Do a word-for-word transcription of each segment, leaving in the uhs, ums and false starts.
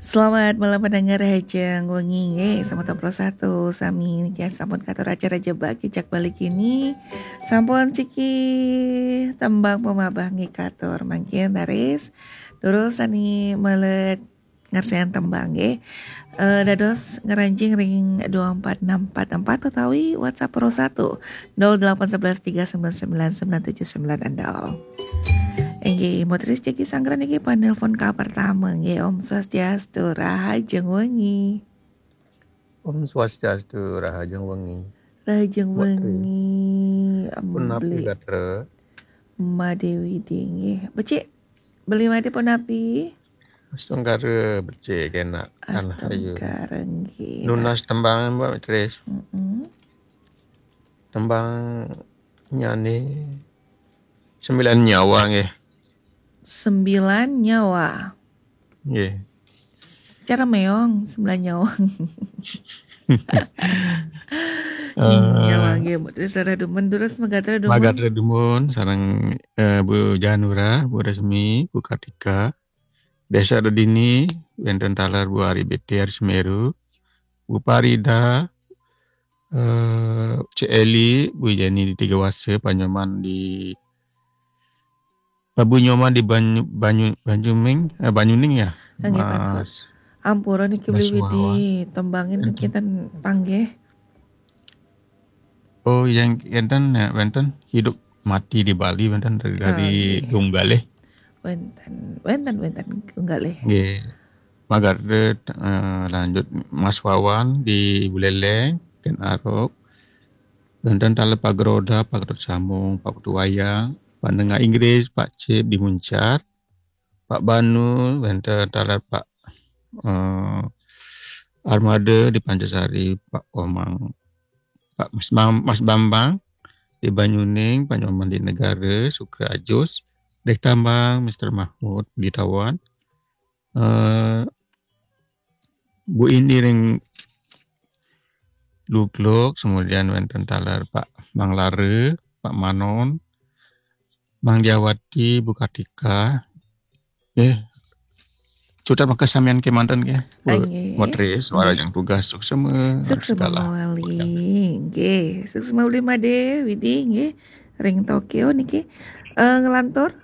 Selamat malam pendengar Rahajeng Wengi nggih, semeton Pro satu sami niki sampun katur acara Jebak Jejak Bali kini. Sampun siki tembang pemabah nggih katur mangkin raris. Durus sami melet ngersen tembang nggih. Eh, dados ngranjing ring dua empat enam empat empat utawi WhatsApp Pro satu nol delapan sebelas tiga sembilan sembilan sembilan tujuh sembilan nol. Inggih, Mutris jagi sanggra niki panelpon ka pertama nggih. Om Swastiastu, Rahajeng Wengi. Om Swastiastu, Rahajeng Wengi. Rahajeng Mbok Tri. Wengi, Punapi Mbli. Gatra? Made Widi nggih. Becik, Beli Made punapi? Astungkara becik kenak tanah ayu. Astungkara nggih. Nunas tembang Mbak Tris. Mm-mm. Tembang nyane Sembilan Nyawa nggih. Sembilan Nyawa. Nggih. Cara meong, Sembilan Nyawa. Eh, Nyawa nggih, Mutris sareng dumun, durus Magatra dumun. Magatra dumun sareng, eh, Bu Janura, Bu Resmi, Bu Kartika. Desa Redini, wenten taler Bu Ari B T R Semeru, Bu Parida, eh, Cik Eli, Bu Jenny di Tiga Wasa, Pak Nyoman di, eh, Bu Nyoman di Banyu, Banyu, Banyuning, eh, Banyuning ya? Nggih, patut. Mas. Ampura niki Mas Beli Widi, Wawan. tembangin Wenten. Kita panggih. Oh, yang enten ya, wenten Hidup Mati di Bali, wenten dari, Oh, dari nggih. Gung Galih. Wenten, wenten, wenten, Gung Galih. Nggih. Magatra, eh, lanjut Mas Wawan di Buleleng, Ken Arok. Wenten taler Pak Geroda, Pak Ketut Sambung, Pak Putu Wayang, Pak Nengah Inggris, Pak Cip di Muncar, Pak Banu, wenten taler Pak, eh, Armada di Pancasari, Pak Komang, Pak Mas Mam-, Mas Bambang di Banyuning, Pak Nyoman di Negara, Sukra Ajus, Dek Tambang, Mister Mahmud, Budi Tawan, eh, Bu Ini ring Lugluk, kemudian wenten taler Pak Mang Lara, Pak Manon, Mang Jawati, Bu Kartika. Nggih. Cutet maka samian kemanten nggih. Bu Ah, nggih. Mutris, Nggih. Warajeng tugas, suksema. Suksema Sudalah. mawali. Nggih, suksema Beli Made Widi nggih. Ring Tokyo niki. Eh, ngelantur.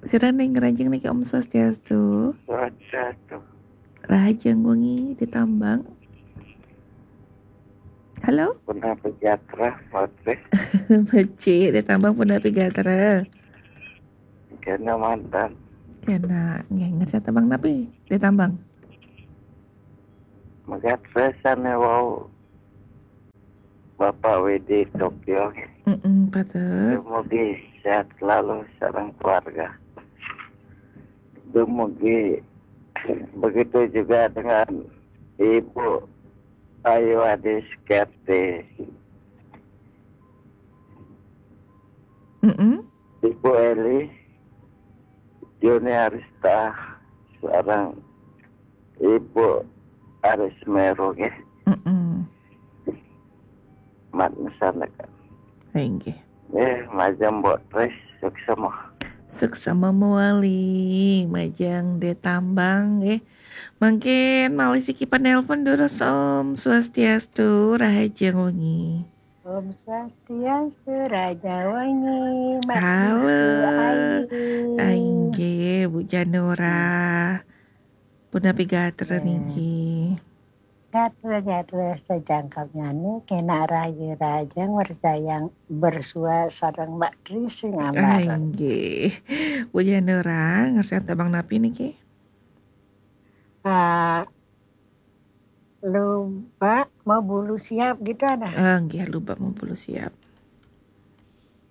Sira ning ngranjing niki, Om Swastiastu. Swastiastu. Rahajeng Wengi di Tambang. Halo? Punapi gatra, Mutris? Becik di Tambang punapi gatra? Kena mantan. Kena nggih, ngersa tembang napi di Tambang? Magatra sane wau Bapak Widi Tokyo. Mm-mm, patut. Dumugi sehat selalu sareng keluarga. Dumugi begitu juga dengan Ibu Ayu Adis Kerti. Mm-mm. Ibu Eli, Joni Arista, sareng Ibu Aris Meru nggih. Mm-mm. Mat mesanakan. Inggih. Nggih, majeng Mbok Tris, suksema. Suksema mawali, majeng di Tambang nggih. Mangkin malih siki panelpon durus, Om Swastiastu, Rahajeng Wengi. Om Swastiastu, Rahajeng Wengi, Mak Halo. Kristi, Ayu. Ah, inggih, Bu Janura. Punapi gatra Eh. niki? Gatra-gatra sajangkepnyane kena rahayu rahajeng, wersayang bersua sareng Mbak Tris sing Ah, ambareng. Inggih. Bu Janura, ngersen tembang napi niki? Ah, lubak mau bulu siap gitu ada. Ah, nggih, Lubak Mempulu siap.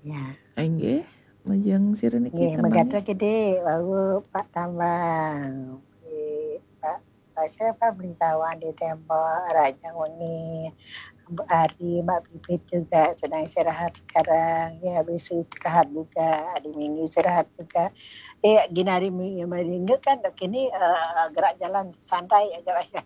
Ya. Ah, inggih, majeng sira niki Nggih, tembangnya? Magatra Gede, wau Pak Tambang. Nggih, Pak, Pak siapa, Beli Tawan di Tembok, Rahajeng Wengi, Bu Ari, Mbak Bibit juga sedang istirahat sekarang. Ya, habis istirahat juga, hari Minggu istirahat juga. Eh, gini hari Mi-, Minggu kan kini, eh, gerak jalan santai aja lah ya.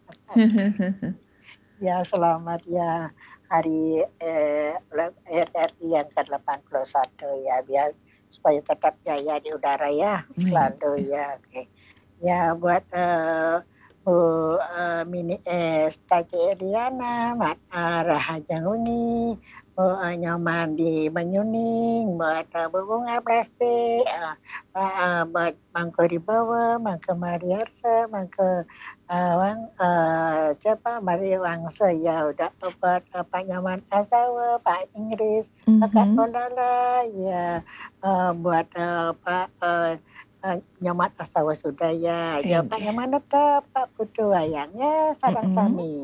Ya, selamat ya hari, eh, R R I yang ke delapan puluh satu ya, biar supaya tetap jaya di udara ya, Amin. selalu ya. Oke. Ya, buat, eh, Bu, eh, Mini S, Taci Eliana, Mat, eh, Rahajeng Wengi, Bu, eh, Nyoman di Banyuning, Bu, atau Bu Bunga Plastik, eh, Pak, eh, buat Mangku Dibawa, Mangku Mariarsa, Mangku, eh, Wang, eh, siapa, Mari Wangsa, ya, udah, buat, eh, Pak Nyoman Asawa, Pak Inggris, Pak Mhm. Olala, ya, eh, buat, eh, Pak, eh, eh, Nyoman Asawa sudah, ya, ya, Pak Inggih. Nyoman tetap, Pak Putu Wayang, ya, sareng Mm-mm. sami.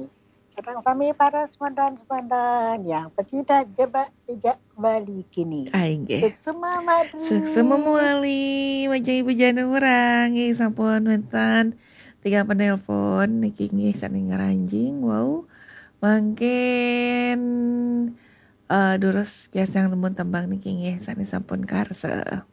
Sareng sami para semandan-semandan yang pesida jebak jejak Bali kini. Ah, inggih. Suksma, Mak Dri. Suksma mawali, majeng Ibu Jana Urang, nggih, sampun wénten tiga penelpon niki, nggih, sané ngranjing. Wau, mangkin, eh, durus piarsang nembung tembang niki, nggih, sané sampun karsa.